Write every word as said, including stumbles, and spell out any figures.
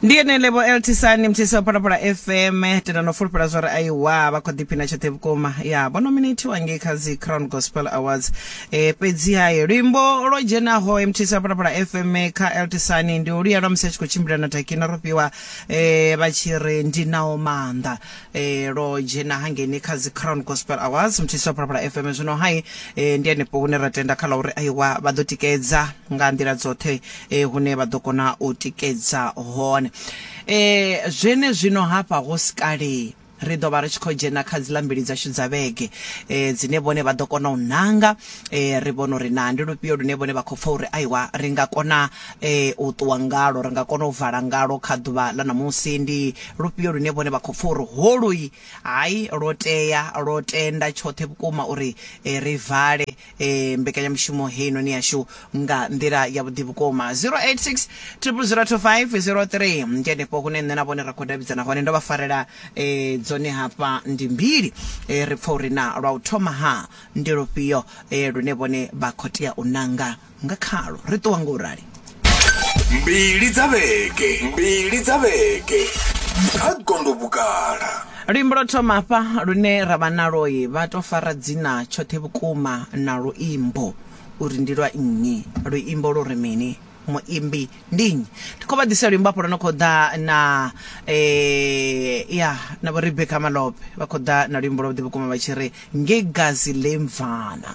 Ndi ene Lebo Eltisani, mthisi wa Phalaphala F M. Tenda no fulufhela zwa uri aiwa, vha khou ḓiphina tshoṱhe vhukuma. Ya vho nominatiwa ngei kha dzi Crown Gospel Awards. e, fhedzi hai luimbo lwo dzhenaho mthisi wa Phalaphala F M kha Eltisani ndi uluya lwa musi a tshi khou tshimbila na Takina Rofhiwa, e, vha tshi ri ndi nao maanḓa. e, lwo dzhena hangeini kha dzi Crown Gospel Awards, mthisi wa Phalaphala F M. Zwino hai e, ndi hanefho hune ra tenda kha ḽa uri aiwa, vha ḓo tikedza nga nḓila dzoṱhe e, hune vha ḓo kona u tikedza hone. e, zwene zwino hafha ho sikale ri ḓo vha ri tshi khou dzhena kha dziḽa mbili dzashu dza vhege, e, dzine vhone vha ḓo kona u nanga. e, ri vhona uri na ndi lufhio lune vhone vha khou pfa uri aiwa, ri nga kona e, u ṱuwa ngalo, ri nga kona u vala ngalo kha ḓuvha ḽa ṋamusi. Ndi lufhio lune vhone vha khou pfa uri holui hai, lwo tea, lwo tenda tshoṱhe vhukuma uri e, ri vale e, mbekanyamushumo heinoni yashu nga nḓila ya vhuḓi vhukuma. zero eight six zero zero two five zero three ndi hanefho hune nṋe na vhone ra khou davhidzana hone. Ndo vha farela e, dzone hafha ndi mbili. e, ri pfa uri na lwa u thoma ha ndi lufhio e, lune vhone vha khou tea u nanga nga khalo. Ri ṱuwa ngo rali. Mbili dza vhege, mbili dza vhege kha Gondo Vhugala. Luimbo lwo thoma hafha lune ra vha naloi, vha to fara dzina tshoṱhe vhukuma na luimbo uri ndi lwa nnyi, luimbo lu ri mini, muimbi ndi nnyi. Ndi khou vha ḓisela luimbo hafho lwo no khou ḓa na eh, ya na vho Rebecca Malope. Vha khou ḓa na luimbo lwavhuḓi vhukuma vha tshi ri Ngegazi Lemvana.